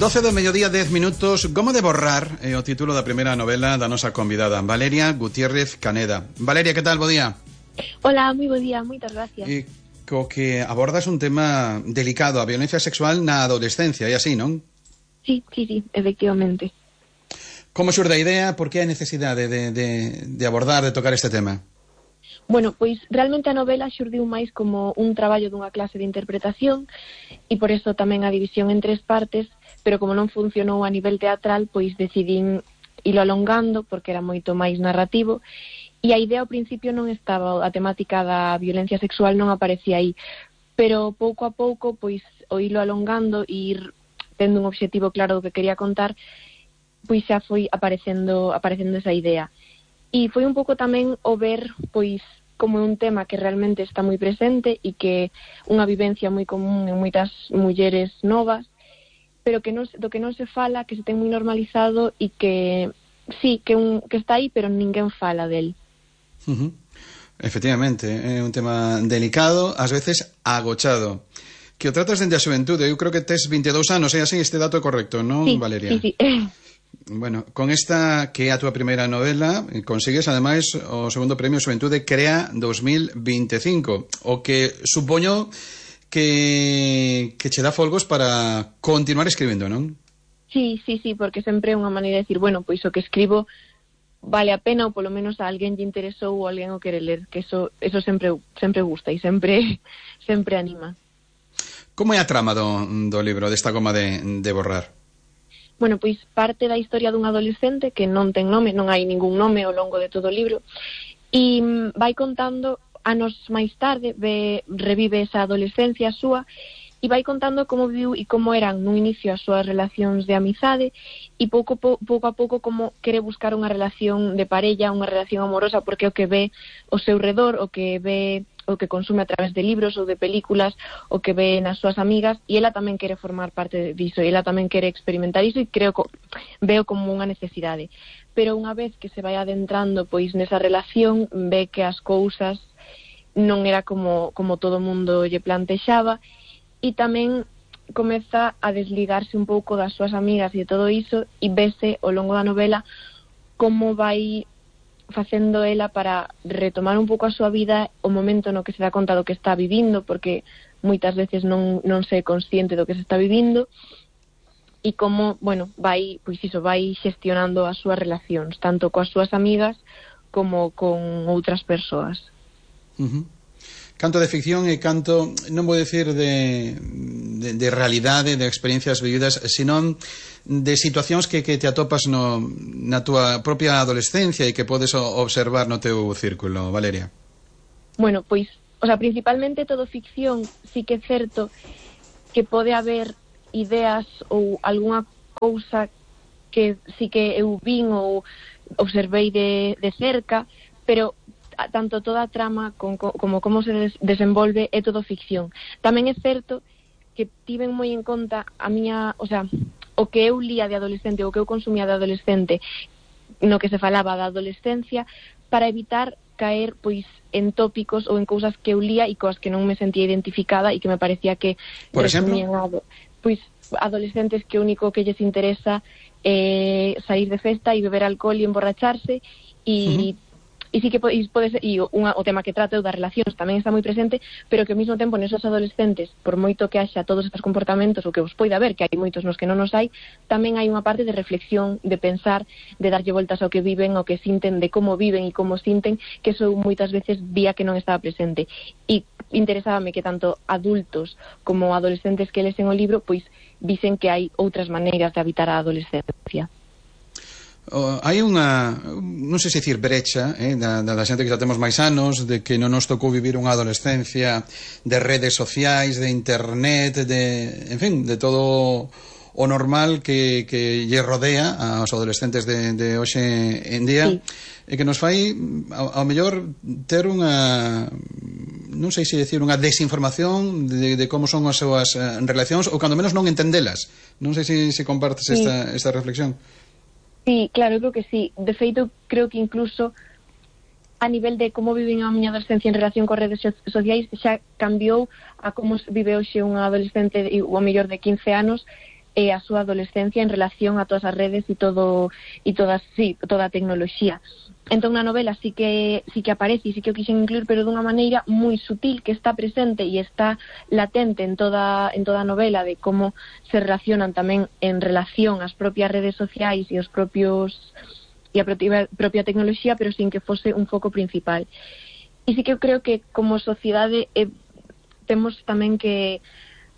12 do mediodía, 10 minutos. Goma de borrar é o título da primeira novela da nosa convidada, Valeria Gutiérrez Caneda. Valeria, que tal? Bo día. Hola, moi bo día, moitas gracias. E co que abordas un tema delicado, a violencia sexual na adolescencia, e así, non? Sí, efectivamente. Como xurde a idea? Por que a necesidade de abordar, de tocar este tema? Bueno, pois realmente a novela xurdiu máis como un traballo dunha clase de interpretación e por eso tamén a división en 3 partes, pero como non funcionou a nivel teatral, pois decidín ilo alongando porque era moito máis narrativo e a idea ao principio non estaba, a temática da violencia sexual non aparecía aí, pero pouco a pouco, pois o ilo alongando e ir tendo un obxectivo claro do que quería contar, pois xa foi aparecendo esa idea. E foi un pouco tamén o ver, pois, como un tema que realmente está moi presente e que unha vivencia moi común en moitas mulleres novas, pero que do que non se fala, que se ten moi normalizado e que, sí, que está aí, pero ninguén fala del. Efectivamente, é un tema delicado, ás veces agochado. Que o tratas dende a xuventude, eu creo que tes 22 anos, é así, este dato é correcto, non, sí, Valeria? Sí. Bueno, con esta que é a túa primeira novela, consigues ademais o segundo premio Xuventude Crea 2025, o que supoño que che dá folgos para continuar escribindo, non? Sí, porque sempre é unha maneira de decir, bueno, pois o que escribo vale a pena ou polo menos a alguén lle interesou ou alguén o quere ler, que eso sempre gusta e sempre anima. Como é a trama do libro, desta goma de borrar? Bueno, pois parte da historia dun adolescente que non ten nome, non hai ningún nome ao longo de todo o libro, e vai contando anos máis tarde, revive esa adolescencia súa, e vai contando como viu e como eran no inicio as súas relacións de amizade, e pouco a pouco como quere buscar unha relación de parella, unha relación amorosa, porque o que ve ao seu redor, o que ve, o que consume a través de libros ou de películas, o que ve nas súas amigas, e ela tamén quere formar parte diso, e ela tamén quere experimentar iso, e veo como unha necesidade. Pero unha vez que se vai adentrando pois nesa relación, ve que as cousas non era como todo o mundo lle plantexaba, e tamén comeza a desligarse un pouco das súas amigas e de todo iso, e vese ao longo da novela como vai facendo ela para retomar un pouco a súa vida, o momento no que se dá conta do que está vivindo, porque moitas veces non se é consciente do que se está vivindo, e como, bueno, vai xestionando as súas relacións, tanto coas súas amigas como con outras persoas. Canto de ficción e canto, non vou dicir de realidade, de experiencias vividas, senón de situacións que te atopas na túa propia adolescencia e que podes observar no teu círculo, Valeria. Bueno, pois, principalmente todo ficción, sí que é certo que pode haber ideas ou algunha cousa que sí que eu vin ou observei de cerca, pero tanto toda a trama como se desenvolve é todo ficción. Tamén é certo que tiven moi en conta a miña, o que eu lía de adolescente, o que eu consumía de adolescente, no que se falaba da adolescencia, para evitar caer pois en tópicos ou en cousas que eu lía e coas que non me sentía identificada e que me parecía que por exemplo, pois adolescentes que o único que lles interesa é sair de festa e beber alcohol e emborracharse e e sí que pode ser, e o tema que trata das relacións tamén está moi presente, pero que ao mesmo tempo nesos adolescentes, por moito que haxa todos estes comportamentos, o que os poida haber, que hai moitos nos que non os hai, tamén hai unha parte de reflexión, de pensar, de darlle voltas ao que viven, ao que sinten, de como viven e como sinten, que eso moitas veces vía que non estaba presente. E interesábame que tanto adultos como adolescentes que lesen o libro, pois visen que hai outras maneiras de habitar a adolescencia. Hai unha, non sei se dicir brecha da xente que xa temos máis anos, de que non nos tocou vivir unha adolescencia de redes sociais, de internet, en fin, de todo o normal que lle rodea aos adolescentes de hoxe en día, e que nos fai ao mellor ter unha, non sei se dicir, unha desinformación de como son as súas relacións, ou cando menos non entendelas. Non sei se compartes esta reflexión. Sí, claro, creo que sí. De feito, creo que incluso a nivel de como viven a miña adolescencia en relación con redes sociais xa cambiou a como vive hoxe unha adolescente ou a mellor de 15 anos a súa adolescencia en relación a todas as redes e toda a tecnoloxía. Entón na novela sí que aparece e sí que o quixen incluir, pero dunha maneira moi sutil, que está presente e está latente en toda a novela, de como se relacionan tamén en relación ás propias redes sociais e a propia tecnoloxía, pero sin que fose un foco principal. E sí que eu creo que como sociedade temos tamén que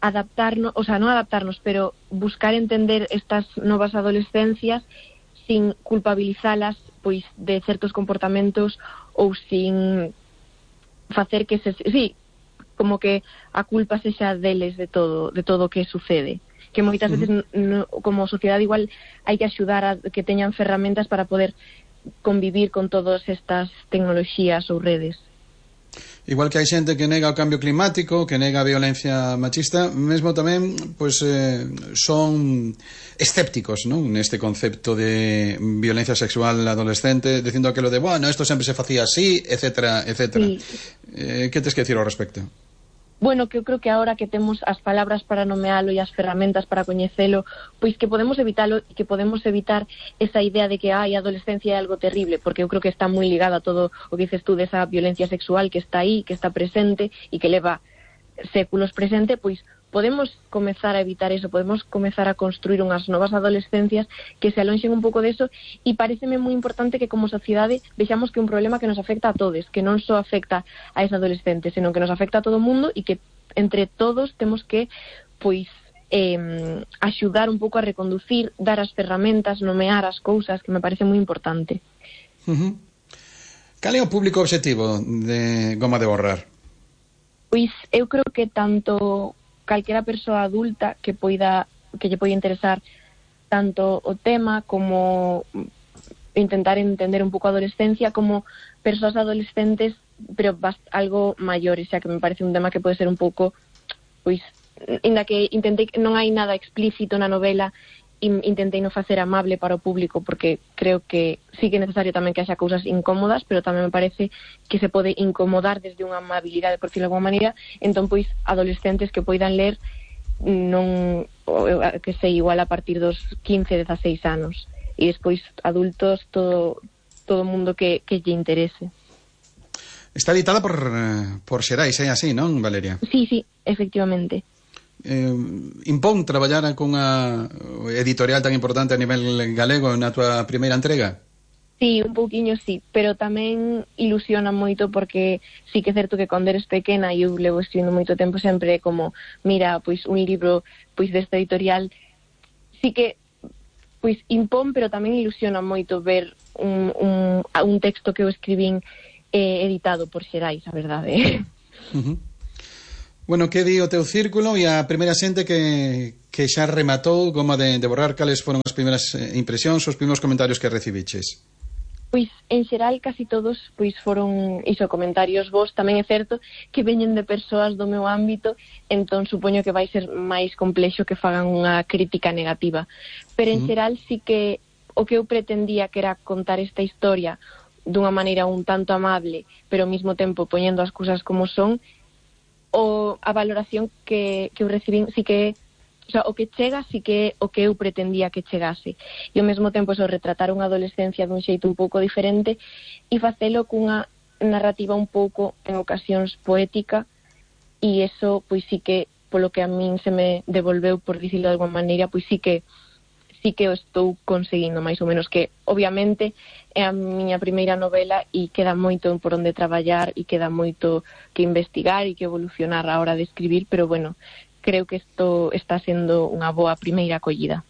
adaptarnos, o sea, non adaptarnos, pero buscar entender estas novas adolescencias sin culpabilizalas pois de certos comportamentos ou sin facer que como que a culpa sexa deles de todo o que sucede, que moitas veces como sociedade igual hai que axudar a que teñan ferramentas para poder convivir con todas estas tecnoloxías ou redes. Igual que hai xente que nega o cambio climático, que nega a violencia machista, mesmo tamén pois son escépticos, non? Neste concepto de violencia sexual adolescente, dicindo aquilo de, bueno, isto sempre se facía así, etcétera, etcétera. Sí. Que tes que decir ao respecto? Bueno, que eu creo que agora que temos as palabras para nomealo e as ferramentas para coñecelo, pois que podemos evitalo e que podemos evitar esa idea de que a adolescencia é algo terrible, porque eu creo que está moi ligada a todo o que dices tú desa violencia sexual que está aí, que está presente e que leva séculos presente, pois podemos comezar a evitar eso, podemos comezar a construir unhas novas adolescencias que se alonxen un pouco deso, e pareceme moi importante que como sociedade vexamos que é un problema que nos afecta a todos, que non só afecta a esa adolescente, senón que nos afecta a todo o mundo, e que entre todos temos que pois axudar un pouco a reconducir, dar as ferramentas, nomear as cousas, que me parece moi importante. Cal é o público obxectivo de Goma de Borrar? Pois eu creo que tanto calquera persoa adulta que lle poida interesar tanto o tema como intentar entender un pouco a adolescencia, como persoas adolescentes pero algo maiores, xa que me parece un tema que pode ser un pouco, pois, inda que intentei, non hai nada explícito na novela, intentei non facer amable para o público, porque creo que sí que é necesario tamén que haxa cousas incómodas, pero tamén me parece que se pode incomodar desde unha amabilidade, por decirlo de alguma maneira. Entón, pois, adolescentes que poidan ler non, que sei, igual a partir dos 15, 16 anos, e despois adultos, todo o mundo que lle interese. Está editada por Xerais, é así, non, Valeria? Sí, efectivamente. Impón traballar con unha editorial tan importante a nivel galego na tua primeira entrega? Sí, un pouquiño sí, pero tamén ilusiona moito, porque sí que é certo que cando eres pequena, e eu levo escribindo moito tempo, sempre como, mira, pois un libro pois desta editorial, sí que pois impón, pero tamén ilusiona moito ver un texto que eu escribín editado por Xerais, a verdade. Bueno, que di o teu círculo e a primeira xente que xa rematou Goma de Borrar? Cales foron as primeiras impresións, os primeiros comentarios que recibiches? Pois, en xeral, casi todos pois foron comentarios vos. Tamén é certo que veñen de persoas do meu ámbito, entón supoño que vai ser máis complexo que fagan unha crítica negativa. Pero en xeral sí que o que eu pretendía, que era contar esta historia dunha maneira un tanto amable, pero ao mesmo tempo poñendo as cousas como son, a valoración que eu recibín sí que, o sea, o que chega sí que o que eu pretendía que chegase, e ao mesmo tempo retratar unha adolescencia dun xeito un pouco diferente e facelo cunha narrativa un pouco en ocasións poética, e eso pois sí que, polo que a min se me devolveu, por dicirlo de alguma maneira, pois sí que o estou conseguindo máis ou menos, que obviamente é a miña primeira novela e queda moito por onde traballar e queda moito que investigar e que evolucionar a hora de escribir, pero bueno, creo que isto está sendo unha boa primeira acollida.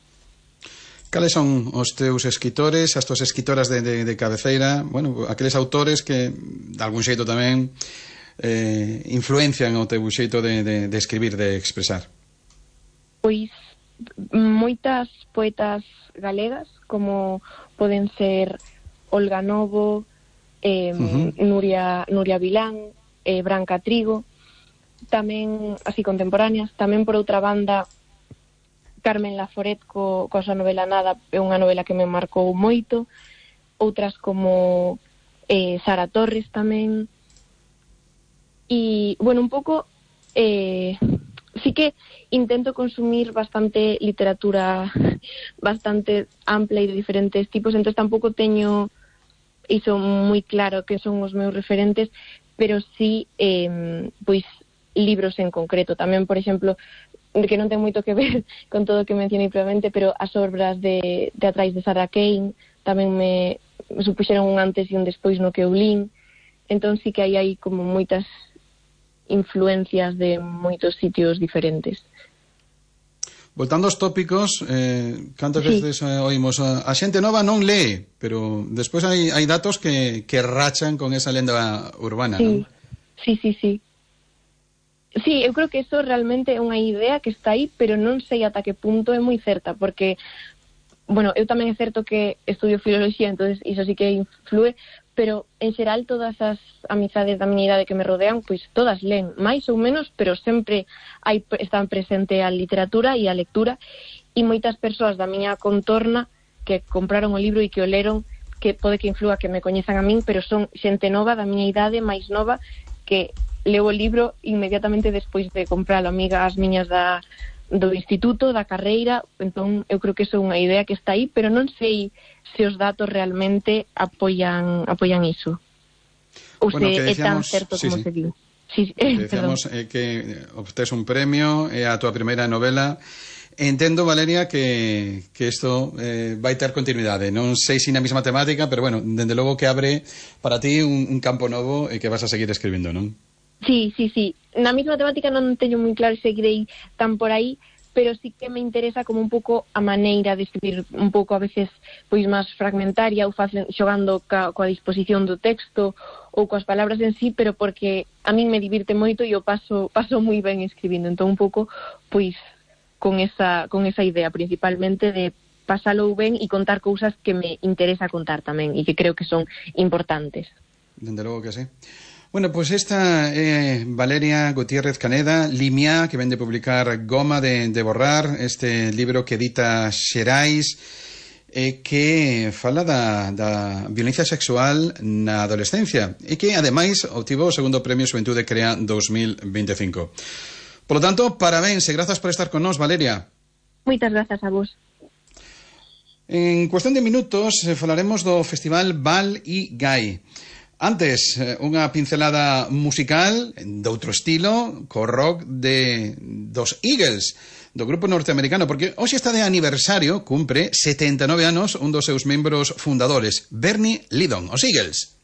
Cales son os teus escritores, as tuas escritoras de cabeceira, bueno, aqueles autores que de algún xeito tamén influencian o teu xeito de escribir, de expresar? Pois moitas poetas galegas, como poden ser Olga Novo, Nuria Vilán, Branca Trigo, tamén así contemporáneas. Tamén por outra banda, Carmen Laforet coa súa novela Nada, é unha novela que me marcou moito. Outras como Sara Torres tamén. E, bueno, un pouco sí Sí que intento consumir bastante literatura bastante ampla e de diferentes tipos, entón tampouco teño iso moi claro que son os meus referentes, pero sí pois libros en concreto. Tamén, por exemplo, que non ten moito que ver con todo o que mencionei previamente, pero as obras de atrás de Sarah Kane tamén me supuxeron un antes e un despois no que eu lín. Entón sí que hai como moitas influencias de moitos sitios diferentes. Voltando aos tópicos, cantas veces oímos a xente nova non lee, pero despois hai datos que rachan con esa lenda urbana, sí. non? Sí. Sí, eu creo que eso realmente é unha idea que está aí, pero non sei ata que punto é moi certa, porque, bueno, eu tamén é certo que estudio filoloxía, entonces iso sí que influe, pero en xeral todas as amizades da miña idade que me rodean, pois todas len, máis ou menos, pero sempre están presente a literatura e a lectura, e moitas persoas da miña contorna que compraron o libro e que o leron, que pode que inflúa que me coñezan a min, pero son xente nova da miña idade, máis nova, que leo o libro inmediatamente despois de compralo, amigas miñas do instituto, da carreira. Entón eu creo que iso é unha idea que está aí, pero non sei se os datos realmente apoian iso, ou bueno, se decíamos, é tan certo como se diu. Sí, decíamos que obtés un premio, é a túa primeira novela. Entendo, Valeria, que isto vai ter continuidade. Non sei se na mesma temática, pero bueno, dende logo que abre para ti un campo novo e que vas a seguir escribindo, non? Sí. Na mesma temática non teño moi claro se seguirei tan por aí, pero sí que me interesa como un pouco a maneira de escribir, un pouco a veces pois máis fragmentaria ou xogando coa disposición do texto ou coas palabras en sí, pero porque a min me divirte moito e o paso moi ben escribindo, entón un pouco pois con esa idea principalmente de pasalo ben e contar cousas que me interesa contar tamén e que creo que son importantes. Dende logo que sí. Bueno, pois esta é Valeria Gutiérrez Caneda, Limia, que vende publicar Goma de borrar, este libro que edita Xerais, que fala da violencia sexual na adolescencia e que, ademais, obtivo o segundo premio Xuventude Crea 2025. Por lo tanto, parabéns e grazas por estar con nós, Valeria. Moitas grazas a vos. En cuestión de minutos falaremos do Festival Val y Gai. Antes, unha pincelada musical de outro estilo, co rock dos Eagles, do grupo norteamericano, porque hoxe está de aniversario, cumpre 79 anos un dos seus membros fundadores, Bernie Leadon, os Eagles.